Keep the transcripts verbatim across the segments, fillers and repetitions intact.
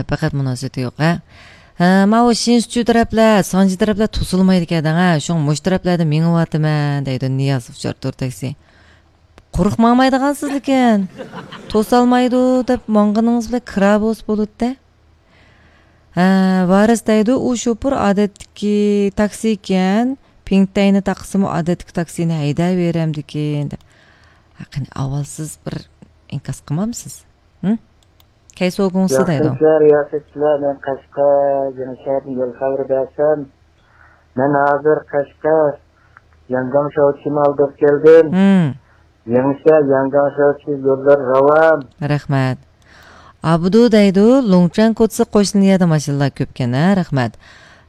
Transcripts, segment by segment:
پەقەت مۇناسىۋىتى يوق، ھە؟ ھە، ماۋۇ شىنسۇچۇ تەرەپلەر، سانجى تەرەپلەر توسۇلمايدىكەن دەڭ، ھە؟ شۇڭا مۇشۇ تەرەپلەردە مېڭىۋاتىمەن، دەيدۇ نىياز ئۇچار تۇر تاكسى. قۇرۇق ماڭمايدىغانسىز لېكىن. توسالمايدۇ دەپ ماڭغىنىڭىز بىلەن كىرا بولسا بولىدۇ-دە. ھە، ۋارىس دەيدۇ، ئۇ شوپۇر ئادەتتىكى تاكسى ئىكەن، پىڭتەينى تاقىسىمۇ ئادەتتىكى تاكسىنى ھەيدەۋېرەمدىكىن، دەپ. ھە، قېنى، ئاۋۋال سىز بىر ئىنكاس قىلمامسىز؟ ھە؟ كەيسوگۇڭسى دەيدۇ. رىياسەتچىلەر، رىياسەتچىلەر، مەن قەشقەر، يېڭىشەھەردىن يول خەۋىرى بەرسەم، مەن ھازىر قەشقەر، ياڭگاڭ شاۋچىنى ئالدۇرۇپ كەلدىم. ھىم. يېڭىشەھەر، ياڭگاڭ شاۋچى يوللىرى راۋان. رەھمەت. ئابدۇ دەيدۇ، لۇڭچۈەن كوچىسى قوشنا يەردە ماشىنىلار كۆپكەن، ھە، رەھمەت.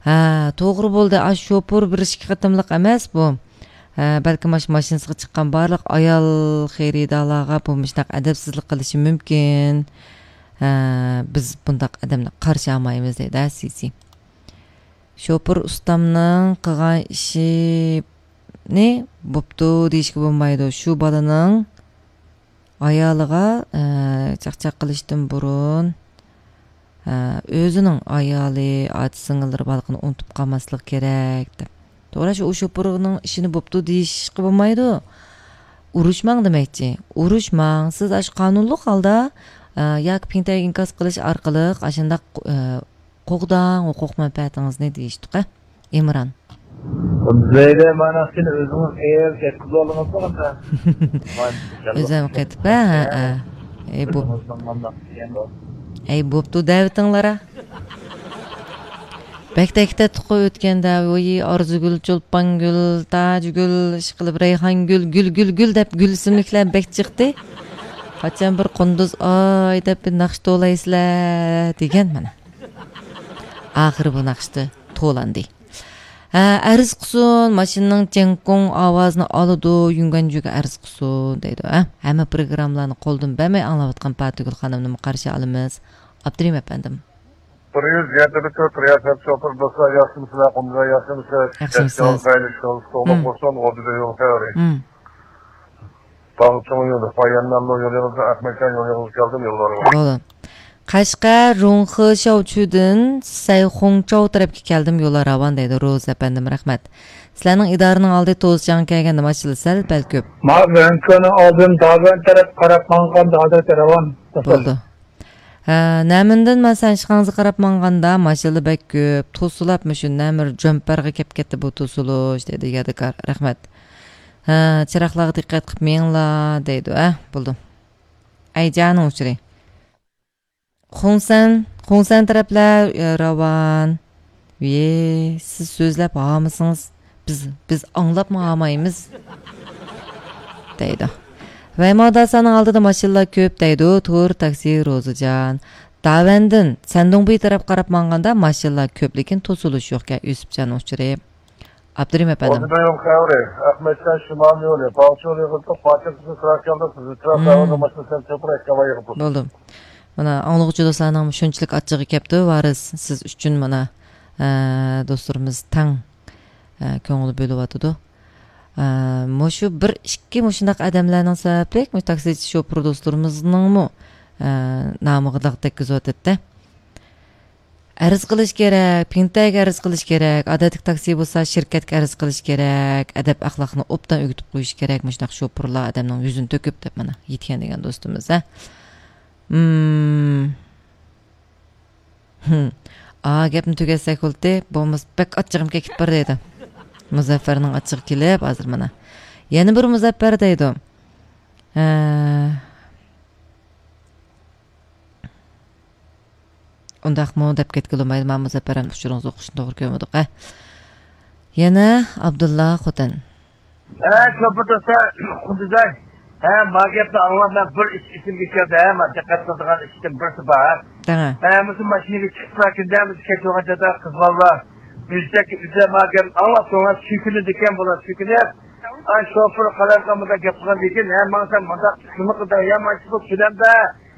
ھە، توغرا بولدى، ئاشۇ شوپۇر بىر ئىككى قېتىملىق ئەمەس بۇ. ھە، بەلكىم ماش-، ماشىنىسىغا چىققان بارلىق ئايال خېرىدارلارغا بۇ مۇشۇنداق ئەدەپسىزلىك قىلىشى مۇمكىن. ھە، بىز بۇنداق ئادەمنى قارشى ئالمايمىز دەيدۇ، ھە، سىسى. شوپۇر ئۇستامنىڭ قىلغان ئىشىنى بوپتۇ دېيىشكە بولمايدۇ. شۇ بالىنىڭ ئايالىغا، ئە، چاقچاق قىلىشتىن بۇرۇن، ئە، ئۆزىنىڭ ئايالى، ئاچا-سىڭىللىرى بارلىقىنى ئۇنتۇپ قالماسلىق كېرەك، دەپ. توغرا، شۇ، ئۇ شوپۇرنىڭ ئىشىنى بوپتۇ دېيىشكە بولمايدۇ. ئۇرۇشماڭ دېمەكچى. ئۇرۇشماڭ. سىز ئاشۇ قانۇنلۇق ھالدا، ئە، ياكى پىڭتەيگە ئىنكاس قىلىش ئارقىلىق ئاشۇنداق، ئە، قوغداڭ ھوقۇق مەنپەئەتىڭىزنى دېيىشتۇق، ھە، ئىمران. زەيدە، مانا سىز ئۆزىڭىز ئېل كەتكۈزۈۋالدىڭىزمۇ ئاندا؟ ئۆزۈم قېتىپ، ھە، ھە، ھە. ئەي، بوپ-، ئۆزىڭىزنىڭ مانداق دېگەن بار. ئەي، بوپتۇ، دەۋېتىڭلار، ھە. بەك تەكتەتتىققۇ ئۆتكەندە، ۋوي، ئارزۇگۈل، چولپانگۈل، تاجگۈل، ئىشقىلىپ، رەيھانگۈل، گۈل، گۈل، گۈل دەپ گۈل ئىسىملىكلەر بەك چىقتى. قاچان بىر قۇندۇز ئاي دەپ بىر ناخشا توۋلايسىلەر، دېگەن مانا. ئاخىرى بۇ ناخشىدا توۋلاندى. ھە، ئەرز قىلسۇن، ماشىنىنىڭ جياڭگوڭ ئاۋازىنى ئالىدۇ، يۈڭگەنجۈگە ئەرز قىلسۇن، دەيدۇ، ھە. ھەممە پروگراممىلارنى قولدىن بەرمەي ئاڭلاۋاتقان پاتىگۈل خانىمنىمۇ قارشى ئالىمىز. ئابدۇرېھىم ئەپەندىم. بىر يۈز يەتتە تۆت رىياسەت شوپۇر دوستلار، ياخشىمۇسىلەر، قۇمدا ياخشىمۇسىلەر؟ ياخشىمۇسىز. يول خەيرلىك، يولىڭىز توغرا بولسۇن، ئوردىدا يول خەيرى. مم. باغچىڭ يولى، بايانناملو يولىڭىزدا، ئەخمەتجان يولىڭىزغا كەلدىم، يوللارغا. بولدى. قەشقەر، رۇڭخې شياۋچۈدىن سەيخۇڭچاۋ تەرەپكە كەلدىم، يوللار راۋان، دەيدۇ روزا ئەپەندىم، رەھمەت. سىلەرنىڭ ئىدارىنىڭ ئالدى توزچاڭ كەلگەندە ماشىنا سەل پەل كۆپ. ما ۋەنكۆنىڭ ئالدىدىن داۋەن تەرەپ قاراپ ماڭغاندا ئادەتتە راۋان. بولدى. ھە، نەمىندىن مەن سەنشىخاڭزا قاراپ ماڭغاندا ماشىنىلا بەك كۆپ، توسۇلاپ مۇشۇ نەمىر جۆمپەرگە كەپ كەتتى بۇ توسۇلۇش، دەيدۇ يادىكار. رەھمەت. ھە، چىراغلارغا دىققەت قىپ مېڭىڭلار، دەيدۇ. ھە، بولدى. ئەيجانىڭ ئۇچۇرى. خۇڭسەن، خۇڭسەن تەرەپلەر، ئە، راۋان. ۋىي، سىز سۆزلەپ ھامىسىڭىز، بىز، بىز ئاڭلاپمۇ ھامايمىز، دەيدۇ. ۋەيماۋداسانىڭ ئالدىدا ماشىنىلار كۆپ، دەيدۇ تۇر تاكسى روزىجان. داۋەندىن سەندۇڭبۇي تەرەپ قاراپ ماڭغاندا ماشىنىلار كۆپ، لېكىن توسۇلۇش يوقكەن، يۈسۈپجاننىڭ ئۇچۇرى. ئابدۇرېھىم ئەپەندىم. ئوردىدا يول خەۋىرى، ئەخمەتجان شىمال يولى، باغچە يولى يىغىلتىپ، پاتىك قىزىل تىراك يولدا سىزنى تىراك خەۋىرىنى باشلىسام چوپۇر ئەكەۋاي يىغىپ. بولدى. مانا، ئاڭلىغۇچى دوستلارنىڭ شۇنچىلىك ئاچچىقى كەپتۇ، ۋارىس، سىز ئۈچۈن مانا، ئە، دوستلىرىمىز تەڭ، ئە، كۆڭۈل بۆلۈۋاتىدۇ. ئە، مۇشۇ بىر، ئىككى مۇشۇنداق ئادەملەرنىڭ سەۋەبلىك، مۇشۇ تاكسىچى شوپۇر دوستلىرىمىزنىڭمۇ، ئە، نامىغا داغ تەگكۈزۈۋاتىدۇ-دە. ئەرز قىلىش كېرەك، پىڭتەيگە ئەرز قىلىش كېرەك، ئادەتتىكى تاكسى بولسا شىركەتكە ئەرز قىلىش كېرەك، ئەدەپ ئەخلاقنى ئوبدان ئۆگىتىپ قويۇش كېرەك، مۇشۇنداق شوپۇرلار ئادەمنىڭ يۈزىنى تۆكۈپ دەپ مانا يېتىكەن دېگەن دوستىمىز، ھە. مم. ھىم. ئا، گەپنى تۈگەتسەك بولدى، بولمىسا بەك ئاچچىقىم كېلىپ بار دەيدۇ. مۇزەففەرنىڭ ئاچچىقى كېلىپ ھازىر مانا. يەنە بىر مۇزەففەر دەيدۇ. ھە. ئۇنداقمۇ دەپ كەتكىلى بولمايدۇ، مانا مۇزەپپەر ئەمدى ئۇچۇرىڭىزنى ئوقۇشنى توغرا كۆرمىدۇق، ھە. يەنە ئابدۇللا خوتەن. ھە، شوپۇر دوستلار، قۇدۇزاي. ھە، ما گەپنى ئاڭلاپ مەن بىر ئىش ئېسىمگە كەلدى، ھە، ما دىققەت قىلىدىغان ئىشتىن بىرسى بار. دەڭە. ھە، مۇشۇ ماشىنىگە چىقىپ بارغاندا، مۇشۇ كەچ بولغان چاغدا قىز بالىلار يۈزەككە ئۆزى ما گەپنى ئاڭلاپ، شۇڭا سۈيكۈنىدىكەن بۇلار، سۈيكۈنۈپ. ھە، شوپۇر قالايمىقان مۇنداق گەپ قىلغاندىن كېيىن، ھە، ماڭسام مۇنداق قىلمىقىدا، يا مانچە بۇ كۆلەمدە،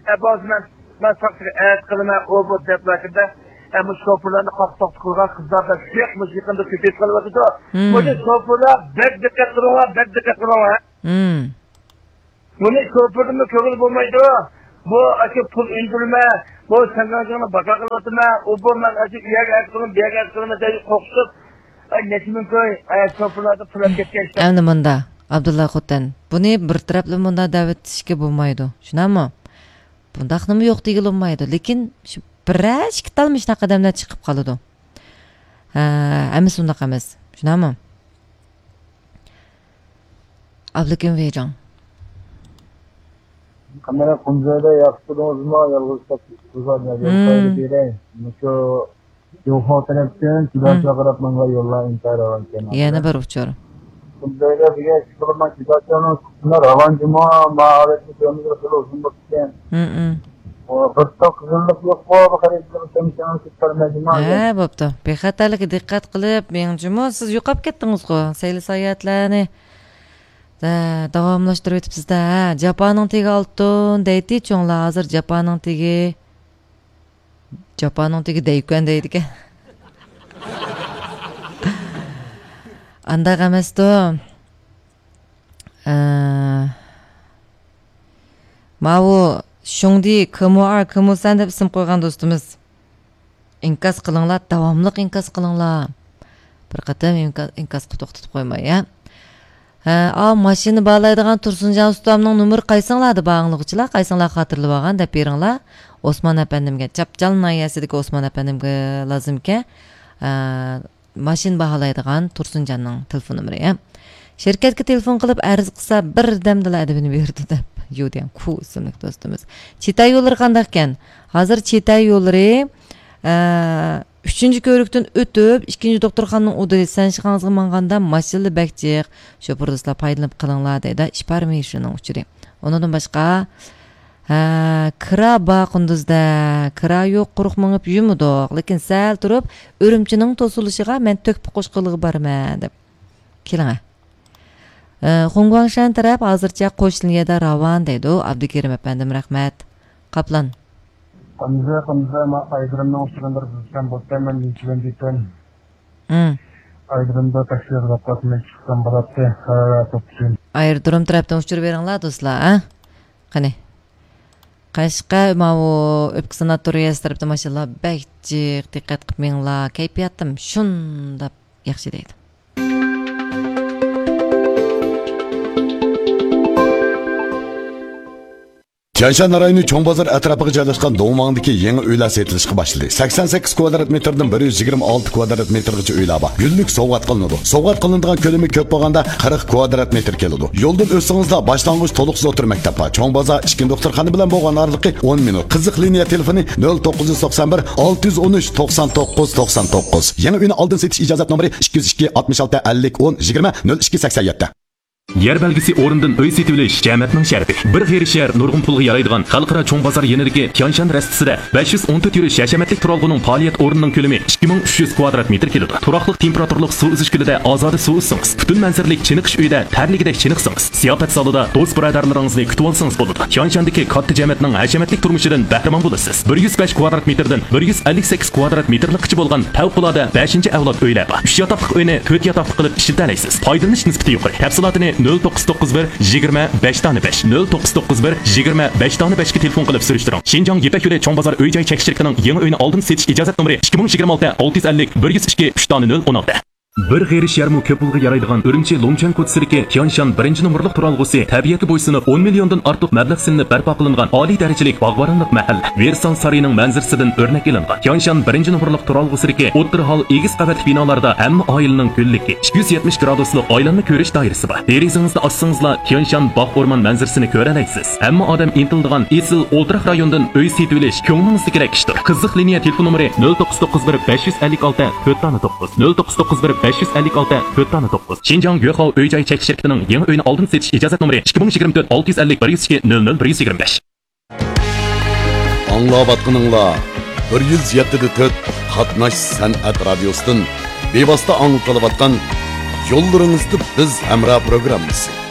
ھە، بولسا مەن مەن ساقچىغا ئەتە قىلىمەن، ئۇ بۇ دەپلا كىردى. ئەمما شوپۇرلارنى قاق توقتا قىلغان قىزلار بەك جىق، مۇشۇ يېقىندا كۆپىيىپ قېلىۋاتىدۇ. مم. بۇنى شوپۇرلار بەك دىققەت قىلىڭلار، بەك دىققەت قىلىڭلار. مم. بۇنى شوپۇردىنمۇ كۆرگىلى بولمايدۇ. بۇ ئاشۇ پۇل ئۈندۈرمە، بۇ سەنگاڭجىڭنى باكا قىلىۋاتىمەن، ئۇ بۇ مەن ئاشۇ ئۇ يەرگە ئەرز قىلىمەن، بۇ يەرگە ئەرز قىلىمەن دەپ قورقۇتۇپ، ئاي، نەچچە مىڭ كوي، ئاي، شوپۇرلاردا پۇل ئەپ كەتكەن ئىشلار. ئەمدى مۇندا، ئابدۇللا خوتەن، بۇنى بىر تەرەپلىمە مۇنداق دەۋېتىشكە بولمايدۇ، شۇنداقمۇ؟ بۇنداقنىمۇ يوق دېگىلى بولمايدۇ، لېكىن شۇ بىرەر ئىككى تال مۇشۇناق ئادەملەر چىقىپ قالىدۇ. ھە، ئەمەس، ئۇنداق ئەمەس، شۇنداقمۇ؟ ئابلىكىم ۋېيجاڭ. قانداق، قۇمزايدا ياخشى تۇردىڭىزمۇ؟ يالغۇز قېلىپ، مۇشۇ يوقا تەرەپتىن جۇداشا قاراپ ماڭغان يوللار ئىنتايىن راۋان ئىكەن. يەنە بىر ئۇچۇر. قۇمزايدا دېگەن ئىش قىلىمەن، جۇداشانىڭ چىقىشىنا راۋان جۇمۇ، ماھارەتنى كۆرمىگىلى خېلى ئۇزۇن بوپتىكەن. ھىم. بىر تال قىزىللىق يوققۇ، بۇ خەرىدارنى كۆمسىڭىز كېتىپ قالمايدىما؟ ھە، بوپتۇ. بىخەتەرلىككە دىققەت قىلىپ مېڭىڭ جۇمۇ، سىز يوقاپ كەتتىڭىزغۇ، سەيلە ساياھەتلەرنى. دە، داۋاملاشتۇرۇۋېتىپسىز-دە، ھە. جاپانىڭ تېگى ئالتۇن دەيتتى چوڭلار، ھازىر جاپانىڭ تېگى، جاپانىڭ تېگى دەيكەن دەيدىكەن. ئانداق ئەمەستۇ. ئە، ماۋۇ شۇڭدى كىمۇئار كىمۇسەن دەپ ئىسىم قويغان دوستىمىز. ئىنكاس قىلىڭلار، داۋاملىق ئىنكاس قىلىڭلار. بىر قېتىم ئىنكا-، ئىنكاسقا توختىتىپ قويماي، ھە. ھە، ئا، ماشىنا باھالايدىغان تۇرسۇنجان ئۇستامنىڭ نومۇرى قايسىڭلاردا بار ئاڭلىغۇچىلار؟ قايسىڭلار خاتىرىلىۋالغان دەپ بېرىڭلار. ئوسمان ئەپەندىمگە، چاپچال ناھىيەسىدىكى ئوسمان ئەپەندىمگە لازىمكەن. ئە، ماشىنا باھالايدىغان تۇرسۇنجاننىڭ تېلېفون نومۇرى، ھە. شىركەتكە تېلېفون قىلىپ ئەرز قىلسا، بىردەمدىلا ئەدىپىنى بېرىدۇ دەپ، يۇديەن كۇ ئىسىملىك دوستىمىز. چىتاي يوللىرى قانداقكەن؟ ھازىر چىتاي يوللىرى، ئە، ئۈچىنچى كۆۋرۈكتىن ئۆتۈپ، ئىككىنچى دوختۇرخانىنىڭ ئۇدۇلى سەنشىخاڭزىغا ماڭغاندا ماشىنىلا بەك جىق. شوپۇر دوستلار پايدىلىنىپ قېلىڭلار دەيدۇ، ئىپارمىشنىڭ ئۇچۇرى. ئۇنىڭدىن باشقا، ھە، كىرا بار قۇندۇزدا، كىرا يوق، قۇرۇق مېڭىپ يۈرمىدۇق، لېكىن سەل تۇرۇپ ئۈرۈمچىنىڭ توسۇلۇشىغا مەن تۆھپە قوشقىلىغا بارىمەن دەپ. كېلىڭە. ئە، خۇڭگۇاڭشەن تەرەپ ھازىرچە قوش لىنىيەدە راۋان دەيدۇ، ئابدۇكېرىم ئەپەندىم، رەھمەت. قاپلان. قۇندۇزدا، قۇندۇزدا، ما ئايرودرومنىڭ ئۇچۇرىنى بىر بىلسەم بولىدىكەن، مەن يېتىۋەندىكەن. ھىم. ئايرودرومدا تاكسىغا قاتناپ چىقسام بولاتتى. ھە، توپچۇم. ئايرودروم تەرەپتىن ئۇچۇر بېرىڭلار، دوستلار، ھە؟ قېنى. قەشقەر ماۋۇ ئۆپكە ساناتورىيەسى تەرەپتە ماشىنىلار بەك جىق، دىققەت قىلىپ مېڭىڭلار، كەيپىياتىم شۇنداق ياخشى دەيدۇ. تيەنشان رايونى چوڭ بازار ئەتراپىغا جايلاشقان دۇڭۋاڭدىكى يېڭى ئۆيلەر سېتىلىشقا باشلىدى. سەكسەن سەككىز كۋادرات مېتىردىن بىر يۈز يىگىرمە ئالتە كۋادرات مېتىرغىچە ئۆيلەر بار. گۈللۈك سوۋغات قىلىنىدۇ. سوۋغات قىلىنىدىغان كۆلىمى كۆپ بولغاندا قىرىق كۋادرات مېتىر كېلىدۇ. يولدىن ئۆتسىڭىزلا باشلانغۇچ تولۇقسىز ئوتتۇرا مەكتەپ بار. چوڭ بازار ئىككىنچى دوختۇرخانا بىلەن بولغان ئارىلىقى ئون مىنۇت. قىزىق لىنىيە تېلېفونى نۆل توققۇز يۈز توقسان بىر، ئالتە يۈز ئون ئۈچ، توقسان توققۇز، توقسان توققۇز. يېڭى ئۆينى ئالدىن سېتىش ئىجازەت نومۇرى ئىككى يۈز ئىككى، ئاتمىش ئالتە، ئەللىك، ئون، يىگىرمە، نۆل ئىككى، سەكسەن يەتتە. يەر بەلگىسى ئورنىدىن ئۆي سېتىۋېلىش جەمەتنىڭ شەرىپى. بىر غېرىب شەھەر نۇرغۇن پۇلغا يارايدىغان خەلقئارا چوڭ بازار يېنىدىكى تيانشان رەستىسىدە بەش يۈز ئون تۆت يۈرۈش ھەشەمەتلىك تۇرالغۇنىڭ پائالىيەت ئورنىنىڭ كۆلىمى ئىككى مىڭ ئۈچ يۈز كۋادرات مېتىر كېلىدۇ. تۇراقلىق تېمپېراتۇرىلىق سۇ ئۈزۈش كۆلىدە ئازادە سۇ ئۈزسىڭىز، پۈتۈن مەنزىرىلىك چېنىقىش ئۆيىدە تەرلىگۈدەك چېنىقسىڭىز، زىياپەت زالىدا دوست-بۇرادەرلىرىڭىزنى كۈتۈۋالسىڭىز بولىدۇ. تيانشاندىكى كاتتا جەمەتنىڭ ھەشەمەتلىك تۇرمۇشىدىن بەھرىمەن بولىسىز. بىر يۈز بەش كۋادرات مېتىردىن بىر يۈز ئەللىك سەككىز كۋادرات مېتىرلىققىچە بولغان پەۋقۇلئاددە بەشىنچى ئەۋلاد ئۆيلەر بار. ئۈچ ياتاقلىق ئۆينى تۆت ياتاقلىق قىلىپ ئىشلىتەلەيسىز. پايدىلىنىش نىسبىتى يۇقىرى. تەپسىلاتىنى نۆل توققۇز توققۇز بىر، يىگىرمە، بەش دانە بەش، نۆل توققۇز توققۇز بىر، يىگىرمە، بەش دانە بەشكە تېلېفون قىلىپ سۈرۈشتۈرۈڭ. شىنجاڭ يىپەك يولى چوڭ بازار ئۆي جاي چەكلىك شىركىتىنىڭ يېڭى ئۆينى ئالدىن سېتىش ئىجازەت نومۇرى ئىككى مىڭ يىگىرمە ئالتە، ئالتە يۈز ئەللىك، بىر يۈز ئىككى، ئۈچ دانە نۆل ئون ئالتە. بىر غېرىب شەھەرمۇ كۆپ پۇلغا يارايدىغان ئۈرۈمچى لۇڭچەن كوچىسىدىكى تيانشان بىرىنچى نومۇرلۇق تۇرالغۇسى تەبىئەتكە بويسۇنۇپ، ئون مىليوندىن ئارتۇق مەبلەغ سېلىنىپ بەرپا قىلىنغان ئالىي دەرىجىلىك باغۋەنلىك مەھەللە. ۋېرسال سارىيىنىڭ مەنزىرىسىدىن ئۆرنەك ئېلىنغان. تيانشان بىرىنچى نومۇرلۇق تۇرالغۇسىدىكى ئوتتۇرا ھال ئېگىز قەۋەتلىك بىنالاردا ھەممە ئائىلىنىڭ گۈللۈكى، ئىككى يۈز يەتمىش گرادۇسلۇق ئايلانما كۆرۈش دائىرىسى بار. دېرىزىڭىزنى ئاچسىڭىزلا، تيانشان باغ ئورمان مەنزىرىسىنى كۆرەلەيسىز. ھەممە ئادەم ئىنتىلىدىغان ئېسىل ئولتۇراق رايونىدىن ئۆي سېتىۋېلىش كۆڭلىڭىزدىكىدەك ئىشتۇر. قىزىق لىنىيە تېلېفون نومۇرى نۆل توققۇز توققۇز بىر، بەش يۈز ئەللىك ئالتە، تۆت دانە توققۇز، نۆل توققۇز توققۇز بىر، بەش يۈز ئەللىك ئالتە، تۆت دانە توققۇز. شىنجاڭ يۆخاۋ ئۆي جاي چەكلىك شىركىتىنىڭ يېڭى ئۆينى ئالدىن سېتىش ئىجازەت نومۇرى ئىككى مىڭ يىگىرمە تۆت، ئالتە يۈز ئەللىك، بىر يۈز ئىككى، نۆل نۆل، بىر يۈز يىگىرمە بەش. ئاڭلاۋاتقىنىڭلار بىر يۈز يەتتە دە تۆت قاتناش سەنئەت رادىيوسىدىن بىۋاسىتە ئاڭلىتىلىۋاتقان يوللىرىڭىزدا بىز ھەمراھ پروگراممىسى.